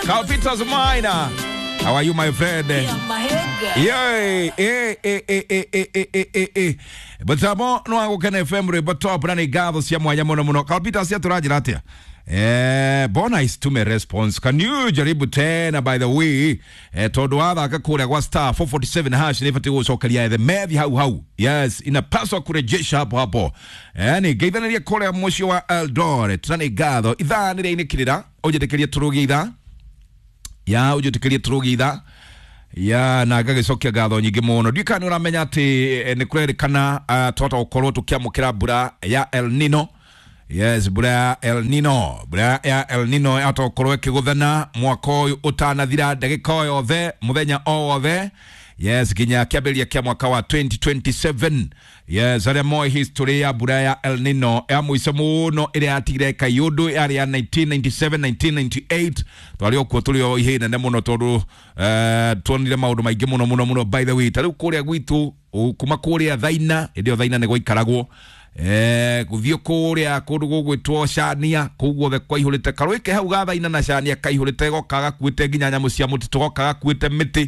Calvitas Maina, how are you my friend? Yeah, eh eh eh eh eh eh eh eh. Butamo no agukena FM rwimbo top na nĩ ngatho cia mwanya mũno mũno. Calvitas atũranjĩra atĩa? Bona isitume response. Can you jaribu tena by the way? Tondu wathaka kũrĩa gwa star 447 hash nĩ batiĩ gũcokeria the methi hau hau. Yes, inapaswa kurejesha hapo hapo. Ni ngeithanirie kũrĩa mũciĩ wa Eldoret na nĩ ngatho. Ithaa nĩ rĩainĩkĩrĩra ũnjĩtĩkĩrie tũrũgie ithaa. Ya ũnjĩtĩkĩrie tũrũgie ithaa ya na ngagĩcokia ngatho nyingĩ mũno. Ndiũĩ kana nĩ ũramenya atĩ nĩ kũrerĩkana twahota gũkorwo tũkĩamũkĩra mbura ya El Nino. Yes, mbura ya El Nino, mbura ya El Nino yahota gũkorwo ĩkĩgũthana mwaka ũyũ ũtanathira, ndagĩka o yothe, mũthenya o wothe. Yes, nginya kĩambĩrĩria kĩa mwaka wa 2027. Yes, arĩa moĩ history ya mbura ya El Nino ya mũico mũno ĩrĩa yatigire kaiũndũ yarĩ ya 1997 1998. Twarĩ o kuo tũrĩ o ihĩĩ nene mũno tondũ tuonire maũndũ maingĩ mũno mũno mũno. By the way, ta rĩu kũrĩa gwitũ kuma kũrĩa Thaina, hĩndĩ ĩyo Thaina nĩ gwaikaragwo, gũthiĩ kũrĩa kũndũ gũgwĩtwo Cania, kũu guothe kwaihũrĩte karũĩ ke hau ga Thaina na Cania kaihũrĩte, goka gakuĩte nginya nyamũ cia mũtitũ, goka gakuĩte mĩtĩ,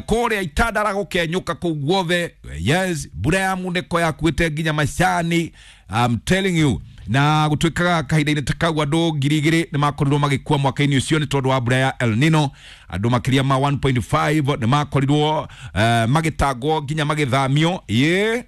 kũrĩa Itandara gũkenyũka kũu guothe. Yes, mbura ya munĩko yakuĩte nginya macani, I'm telling you. Na gũtuĩkaga kahinda-inĩ ta kau andũ 2,000 nĩ makorirwo magĩkua mwaka-inĩ ũcio nĩ tondũ wa mbura ya El Nino. Andũ makĩria ma 1.5 nĩ makorirwo magĩtangwo nginya magĩthamio. Ĩ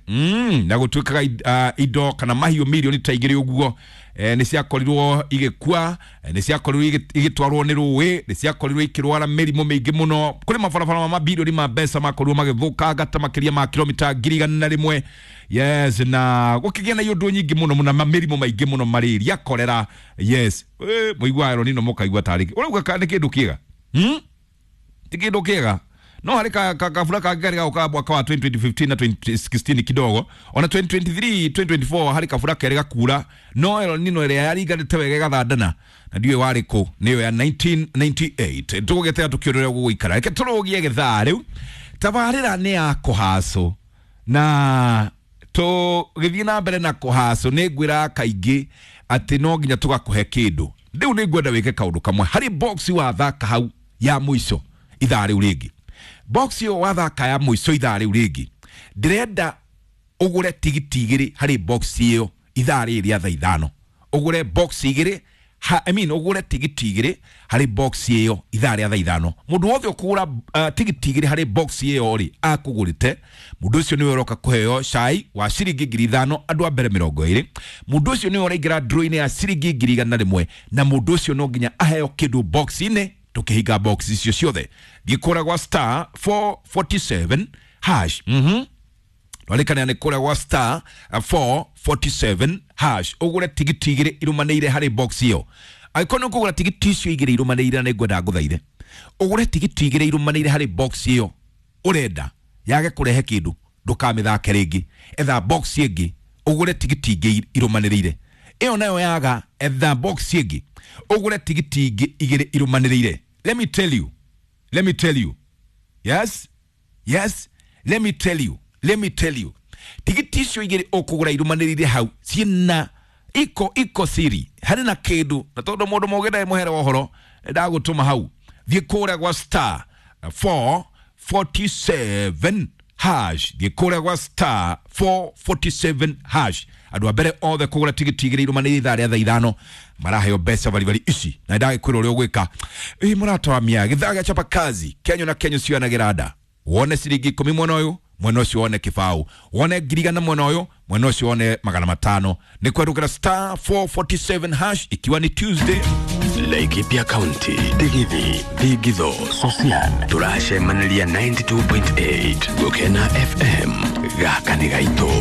na gũtuĩkaga indo kana mahiũ mirioni ta 2 ũguo nĩ ciakorirwo igĩkua, nĩ ciakorirwo igĩtwarwo nĩ rũĩ, nĩ ciakorirwo ikĩrwara mĩrimũ mĩingĩ mũno. Kũrĩ mabarabara ma mabirioni ma mbeca makorirwo magĩthũkanga ta makĩria ma kilomita 1,100. Yes, na gũkĩgĩa na iũndũ nyingĩ mũno mũno na mĩrimũ maingĩ mũno, malaria, cholera. Yes, mũigua El Nino mũkaigua tarĩ ũrauga nĩ kĩndũ kĩega, ti kĩndũ kĩega. No harĩ kabura kangĩ karĩ gaũkaga mwaka wa 2015 na 2016 kidogo, ona 2023 2024 harĩ kabura kerĩ gakura, no El Nino ĩrĩa yaringanĩte wega ĩgathandana na ndiũĩ warĩ kũ, nĩyo ya 1998. Tũgũgĩtega tũkĩũrĩra gũgũikara. Reke tũrũgie gĩthaa rĩu. Tabarĩra nĩ ya kũhacũ na tũgĩthiĩ na mbere na kũhacũ. Nĩ ngwĩraga kaingĩ atĩ no nginya tũgakũhe kĩndũ. Rĩu nĩ ngwenda wĩke kaũndũ kamwe harĩ box wathaka hau ya mũico ithaa rĩu rĩngĩ. Box ĩyo wathaka ya mũico ithaa rĩu rĩngĩ, ndĩrenda ũgũre tigiti 2 harĩ box ĩyo ithaa rĩrĩ rĩa thaa 5. Ũgũre box 2, I mean ũgũre tigiti 2 harĩ box ĩyo ithaa rĩa thaa 5. Mũndũ wothe ũkũgũra tigiti 2 harĩ box ĩyo rĩ, akũgũrĩte, mũndũ ũcio nĩwe ũroka kũheo cai wa ciringi 5,000 andũ a mbere 20. Mũndũ ũcio nĩwe ũraingĩra draw-inĩ ya ciringi 100,000, na mũndũ ũcio no nginya aheo kĩndũ box-inĩ. Tũkĩhinga box icio ciothe, thiĩ kũrĩa gwa star 447 hash. Twarĩkania nĩ kũrĩa gwa star 447 hash ũgũre tigiti 2 irũmanĩire harĩ box ĩyo. Angĩkorwo nĩ ũkũgũra tigiti icio 2 irũmanĩire, na nĩ ngwenda ngũthaithe ũgũre tigiti 2 irũmanĩire harĩ box ĩyo ũrenda yage kũrehe kĩndũ, ndũkamĩthake rĩngĩ. Etha box ĩngĩ ũgũre tigiti ingĩ irũmanĩrĩire. Ĩyo nayo yaga, etha box ĩngĩ ũgũre tigiti ingĩ 2 irũmanĩrĩire. Let me tell you, let me tell you, yes, yes, let me tell you, let me tell you, tigiti icio 2 ũkũgũra irũmanĩrĩire hau ciĩna iko siri, harĩ na kĩndũ. Na tondũ mũndũ mũgĩ ndarĩ mũhere wa ũhoro, ndagũtũma hau. Thiĩ kũrĩa gwa star 447 hash, thiĩ kũrĩa gwa star 447 hash. Andũ a mbere othe kũgũra tigiti 2 irũmanĩrĩire ithaa rĩa thaa 5 maraheo mbeca baribari ici, na ndagĩkwĩra ũrĩa ũgwĩka. Ĩ mũrata wa mĩa gĩthaa gĩa chapa kazi kenyo na kenyo cionagĩra nda. Wone ciringi 10 mwena ũyũ, mwena ũcio wone kĩbaũ, wone 1,000 mwena ũyũ, mwena ũcio wone 500. Nĩ kwerũkĩra star 447 hash ikiwa ni Tuesday. Laikipia County, Digithi, Thigitho, Sosian, tũracemanĩria 92.8 Gũkena FM, gaka nĩ gaitũ.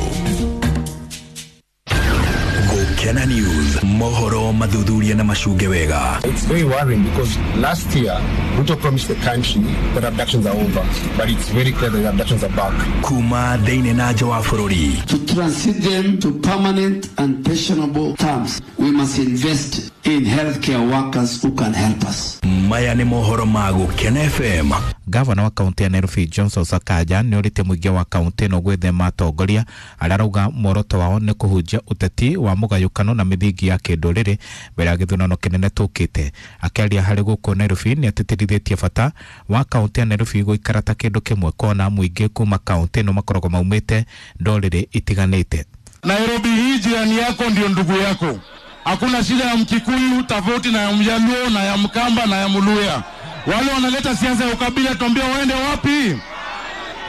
Gũkena News, mohoro mathuthuria na macunge wega. It's very worrying because last year Ruto promised the country that abductions are over, but it's very clear that abductions are back. Kuma thĩinĩ na nja wa bũrũri. To transit them to permanent and pensionable terms, we must invest in healthcare workers who can help us. Maya nĩ mohoro ma Gũkena FM. Gavana wa kaunti ya Nairobi Johnson Sakaja nĩ orĩtie mũingĩ wa kaunti ĩno gwĩthema atongoria arĩa arauga muoroto wao nĩ kũhunjia ũteti wa mũgayũkano na mĩthingi ya kĩndũrĩrĩ mbere ya gĩthurano kĩnene tũkĩte. Akĩaria harĩ gũkũ Nairobi nĩ atĩtĩrithĩtie bata wa kaunti ya Nairobi gũikara ta kĩndũ kĩmwe kona mũingĩ kuma kaunti ĩno makoragwo maumĩte ndũrĩrĩ itiganĩte. Nairobi hii jirani yako ndio ndugu yako. Hakuna shida ya Mkikuyu tofauti na ya Mjaluo na ya Mkamba na ya Mluya. Wale wanaleta siasa ya ukabila tuambie waende wapi?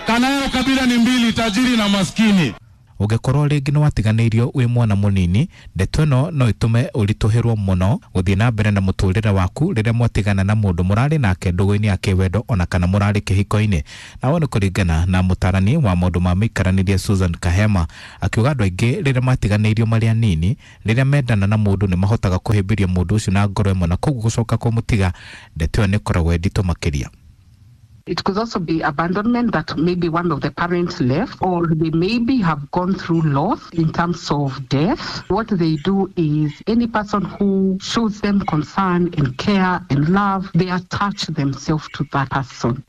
Kana ya ukabila ni mbili, tajiri na maskini. Ũngĩkorwo rĩngĩ nĩwatiganĩirio wĩ mwana mũnini, ndeto ĩno no ĩtũme ũritũhĩrwo mũno gũthiĩ na mbere na mũtũrĩre waku rĩrĩa mwatigana na mũndũ mũrarĩ nake ndũgũ-inĩ ya kĩwendo ona kana mũrarĩ kĩhiko-inĩ. Nawe nĩ kũringana na mũtarani wa maũndũ ma mĩikaranĩrie Susan Kahema, akiuga andũ aingĩ rĩrĩa matiganĩirio marĩ anini, rĩrĩa mendana na mũndũ nĩ mahotaga kũhĩmbĩria mũndũ ũcio na ngoro ĩmwe, na koguo gũcoka kũmũtiga ndeto ĩyo nĩ ĩkoragwo ĩ nditũ makĩria. It could also be abandonment, that maybe one of the parents left, or they maybe have gone through loss in terms of death. What they do is any person who shows them concern and care and love, they attach themselves to that person.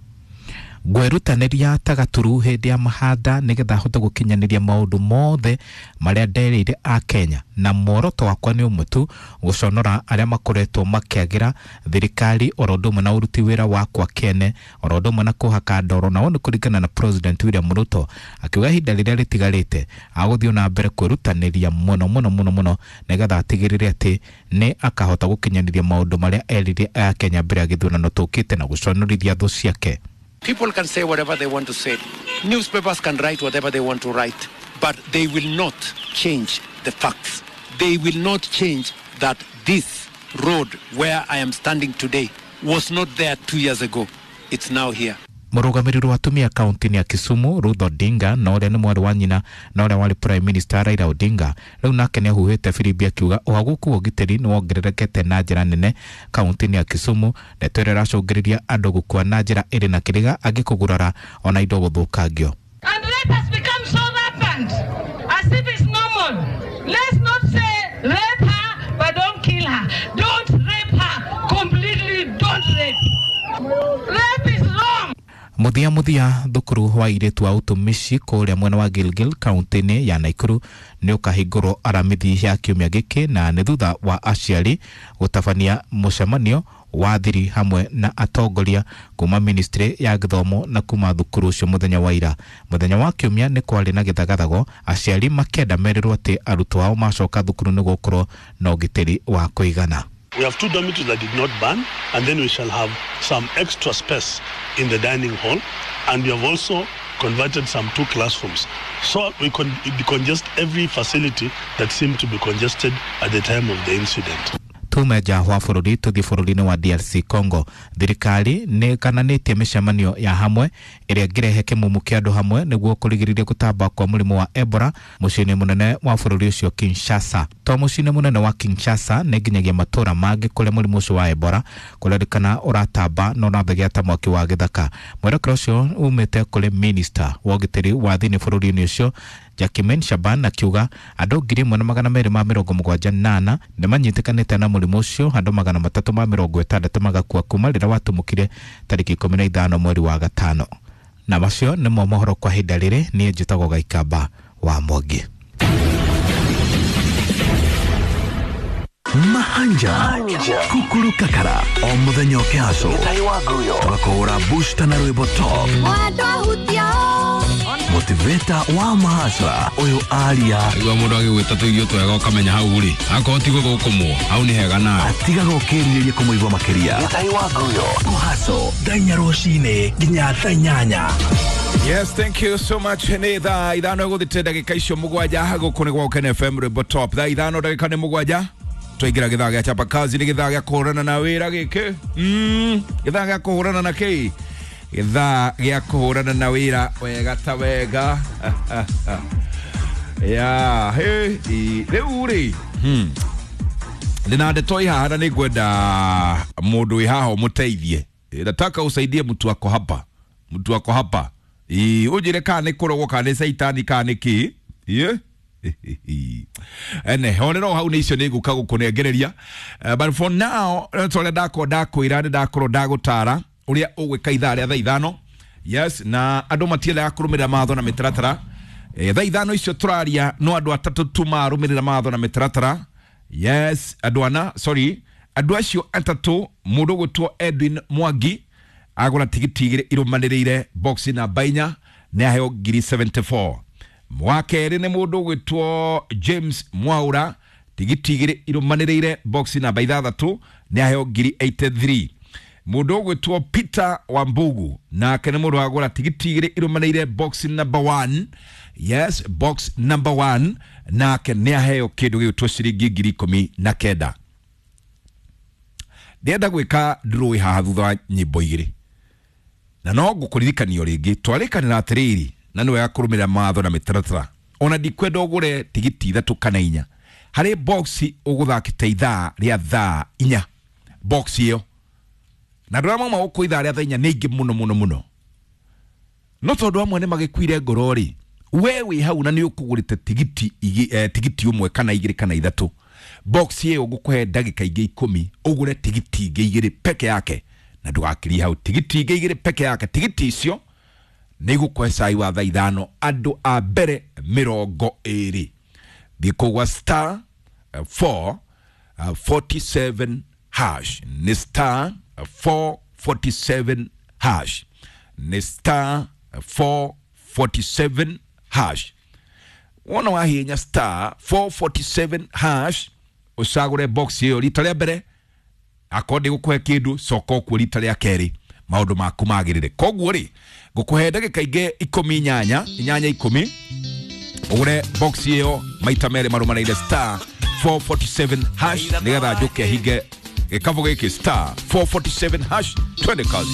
Ngwĩrutanĩria ta gaturu hĩndĩ ya mahanda nĩgetha hote gũkinyanĩria maũndũ mothe marĩa nderĩire a Kenya, na muoroto wakwa nĩ ũmwe tu, gũconora arĩa makoretwo makĩagĩra thirikari oro ũndũ ũmwe na ũruti wĩra wakwa kĩene oro ũndũ ũmwe na kũhaka ndoro. Nao nĩ kũringana na President William Ruto, akiuga ihinda rĩrĩa rĩtigarĩte agũthiĩ na mbere kwĩrutanĩria mũno mũno mũno mũno nĩgetha atigĩrĩre atĩ nĩ akahota gũkinyanĩria maũndũ marĩa erĩire a Kenya mbere ya gĩthurano tũkĩte na gũconorithia thũ ciake. People can say whatever they want to say. Newspapers can write whatever they want to write, but they will not change the facts. They will not change that this road where I am standing today was not there 2 years ago. It's now here. Mũrũgamĩrĩri wa atumia kaunti-inĩ ya Kisumu Ruth Odinga, na ũrĩa nĩ mwarĩ wa nyina na ũrĩa warĩ Prime Minister Raila Odinga, rĩu nake nĩ ahuhĩte firimbi akiuga ũhagũku wa ũgitĩri nĩ wongererekete na njĩra nene kaunti-inĩ ya Kisumu, ndeto ĩrĩa ĩracũngĩrĩria andũ gũkua na njĩra ĩrĩ na kĩrĩga, angĩ kũgurara ona indo gũthũkangio. And let us become so rampant as if it's normal. Let's not say rape her but don't kill her. Don't rape her completely, don't rape. Rape is wrong. Muthia muthia thukuru wa airĩtu a ũtumishi kũrĩa mwena wa Gilgil kaunti-inĩ ya Nakuru nĩ ũkahingũrwo aramithi ya kiumia gĩkĩ, na nĩ thutha wa aciari gũtabania mũcemanio wa thiri hamwe na atongoria kuma ministry ya gĩthomo na kuma thukuru ũcio mũthenya wa ira. Mũthenya wa kiumia nĩ kwarĩ na gĩthagathago, aciari makĩenda merĩrwo atĩ arutwo ao macoka thukuru nĩ gũkorwo na ũgitĩri wa kũigana. We have 2 dormitories that did not burn, and then we shall have some extra space in the dining hall, and we have also converted some 2 classrooms. So we can decongest every facility that seemed to be congested at the time of the incident. Tume nja wa bũrũri tũthiĩ bũrũri-inĩ wa DRC Congo. Thirikari nĩ ĩkananĩtie mĩcemanio ya hamwe ĩrĩa ĩngĩrehe kĩmumu kĩa andũ hamwe nĩguo kũrigĩrĩria gũtamba kwa mũrimũ wa Ebola mũciĩ-inĩ mũnene wa bũrũri ũcio Kinshasa. To mũciĩ-inĩ mũnene wa Kinshasa nĩ nginyagia matũũra mangĩ kũrĩa mũrimũ ũcio wa Ebola kũrerĩkana ũratamba na ũrathegea ta mwaki wa gĩthaka. Mwerekera ũcio umĩte kũrĩ minista wa ũgitĩri wa thĩinĩ bũrũri-inĩ ũcio Jacquemain Shaban, akiuga andũ 1278 nĩ manyitĩkanĩte na mũrimũ ũcio, andũ 360 magakua kuma rĩrĩa watumũkire tarĩki 15 mweri wa gatano. Na macio nĩmo mohoro kwa ihinda rĩrĩ. Niĩ njĩtagwo Gaikamba wa Mwangi. Mahanja Kukuru Kakara o muthenya ũkĩhaco tũgakũhũra booster na rwĩmbo top motivator wa mahasra ũyũ aria igua mũndũ agĩgwĩta tũirio twega ũkamenya hau rĩ akorwo ti gũthũkũmwo hau nĩ hega nawe atigaga ũkĩrirĩria kũmũigua makĩria kũhaco thaa inya rũcinĩ nginya thaa inyanya. Yes, thank you so much. Nĩ thaa ithano gũthite ndagĩka icio mũgwanja gũkũ nĩ gwa Gũkena FM rwĩmbo top. Thaa ithano ndagĩka nĩ mũgwanja twaingĩra gĩthaa gĩa chapa kazi, nĩ gĩthaa gĩa kũhũrana na wĩra gĩkĩ. Gĩthaa gĩa kũhũrana na kĩ? Gĩthaa gĩa kũhũrana na wĩra wega ta wega. Ya, he, rĩu rĩ ndĩna ndeto ĩ haha na nĩ ngwenda mũndũ wĩ haha ũmũteithie. Nataka usaidie mtu wako hapa, mtu wako hapa. Ũnjĩre kana nĩ kũrogwo kana nĩ caitani kana nĩ kĩ. Ene horero hau nä icio nä ngå ka gå kå nengereria. But for now ta å rä a ndakorwo ndakwä ra nä ndakorwo ndagå tara å rä a å gwä ka ithaa rä a thaa 5. Yes, na andå matiendaga kå rå mä rä ra matho na mä taratara. Thaa 5 icio tå raria no andå atatå tu marå mä rä ra matho na mä taratara. Yes, andå ana, sorry, andå acio atatå, må ndå gå two Edwin Mwangi agå tigiti 2 irå manä rä ire box namba 4 nä aheo ngiri 74. Wa kerĩ nĩ mũndũ ũgwĩtwo James Mwaura, tigiti 2 irũmanĩrĩire box namba 6 nĩ aheo ngiri 83. Mũndũ ũgwĩtwo Peter Wambugu nake nĩ mũndũ wagũra tigiti 2 irũmanĩrĩire box number 1. Yes, box number 1, nake nĩ aheo kĩndũ gĩgwĩtwo ciringi ngiri 19. Ndĩrenda gwĩka draw haha thutha wa nyĩmbo 2, na no ngũkũririkanio rĩngĩ twarĩkanĩra atĩrĩrĩ, na nĩ wega kũrũmĩrĩra mawatho na mĩtaratara. Ona ndikwenda ũgũre tigiti 3 kana 4 harĩ box ũgũthakĩte ithaa rĩa thaa 4 box ĩyo, na andũ arĩa mauma gũkũ ithaa rĩa thaa 4 nĩ aingĩ mũno mũno mũno, no tondũ amwe nĩ magĩkuire ngoro rĩ, we wĩ hau na nĩ ũkũgũrĩte tigiti tigiti 1 kana 2 kana 3, box ĩyo ngũkũhe ndagĩka ingĩ 10 ũgũre tigiti ingĩ 2 peke yake, na ndũgakirie hau, tigiti ingĩ 2 peke yake. Tigiti icio nä gå kwe cai wa thaa 5 andå a mbere 20. Thiä kå gwa star 447 hash, nä star 447 hash, nä star 447 hash. Wona wahinya star 447 hash ũcagũre box ĩyo rita rĩa mbere, akorwo ndä gå kũhe kĩndũ coka ũkuo rita rĩa kerĩ maũndũ maku magĩrĩre. Koguo rĩ, ngũkũhe ndagĩka ingĩ 18 8 10 ũgũre box ĩyo maita merĩ marũmanĩire star 447 hash, nĩgetha njũke hinge gĩkabũ gĩkĩ star 447 hash. Twende kazi.